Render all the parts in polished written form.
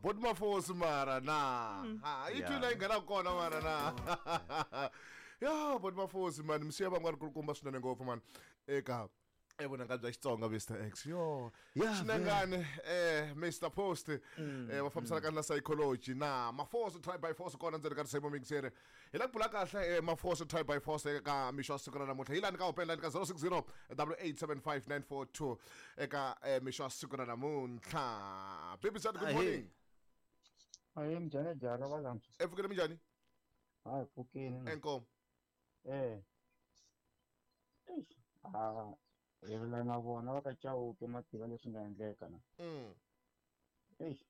Bot Mafosi mara na. Ha, yi twile yi nghena kona mara na. Ya, Bot Mafosi man, msiya van'wana kulukumba swinene ngopfu man. Eka evunanga bya Xitsonga Mr X. Yo. Xinangani Mr Post va fambisanaka na psychology na Mafosi try by force kona ndzeni ka risimu mixere. Hi la ku bula kahle Mafosi try by force eka mixo wa siku ra namuntlha. Hi lani ka open line ka 060 8875942 eka mixo wa siku ra namuntlha. Baby Zat, good morning. Ahe, minjhani jara va lantshwa? Epfukile minjhani? Hayi, pfukile. Enkomo. Eish, a hi rila na vona va ka Chauke ma tiva leswi nga endleka na. Eish,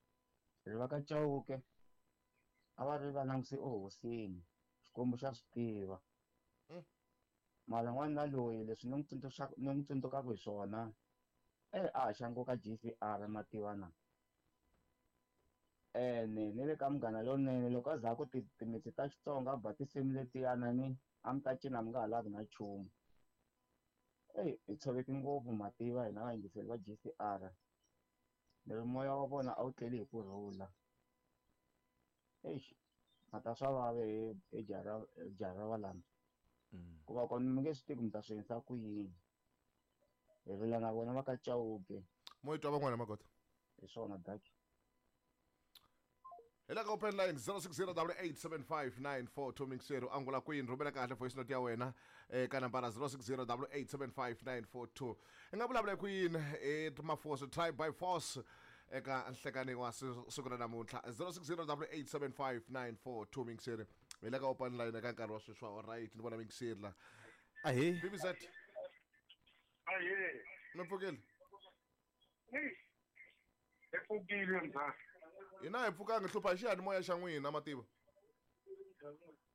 ri va ka Chauke a va ri va languse ehosini, Xikwembu xa swi tiva. Mara n'wana loyi leswi ni n'wi tsundzuxaka ni n'wi tsundzukaka hi swona a haxa nkoka GCR ma tiva na. Ene ni le ka Munghana Lonene loko a za ku timitsu ta Xitsonga a ba tinsimu letiyana ni a mi ta cina mi nga ha lavi na nchumu. Eyi hi tshoveke ngopfu ma tiva hina vayingiseri va GCR. Ni ri moya wa vona a wu tleli hi ku rhula. Eish, mata swa vava hi jaha ra valanda. Ku va kona mi nge swi tivi ku mi ta swi endlisa ku yini. Hi rila na vona va ka Chauke. Mo yi twa van'wana magota. Hi swona daki. Hi la ka open line 0608875942 mixero angula kwini rhumela kahle voice note ya wena eka nambara 0608875942. I nga vulavula ku yini i Mafosi try by force eka nhlekani wa siku ra namuntlha 0608875942 mixero. Hi la ka open line eka nkarhi wa sweswi wa right ni vona mixero la. Ahe. BBZ. Ahe. Mi pfukile? Hey. Hi pfukile mzala. Hina hi pfukanga hlupha hi xiyanimoya xa n'wina mativa.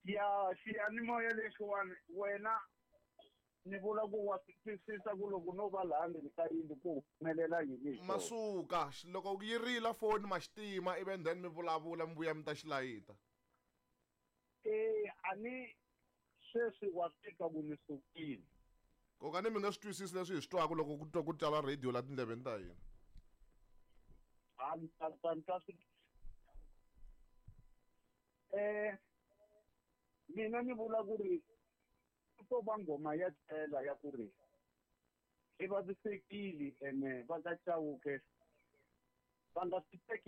Ya xiyanimoya lexiwani wena ni vula ku wa swi twisisa ku loko no va laha ndzeni ka yindlu ku humelela yini hi xona. Masuka loko yi rila foni ma xitima ivi and then mi vulavula mi vuya mi ta xilayita. A ni sweswi wa swi twa ku ni sukile. Koka ni mi nga swi twisisi leswi hi swi twaka loko ku twa ku twala radio la tindleveni ta hina. A ni ta ta ni ta swi mina ni vula ku ri ku to va nghoma ya tlhela ya ku ri i vavisekile ene va ka Chauke va nga swi teki.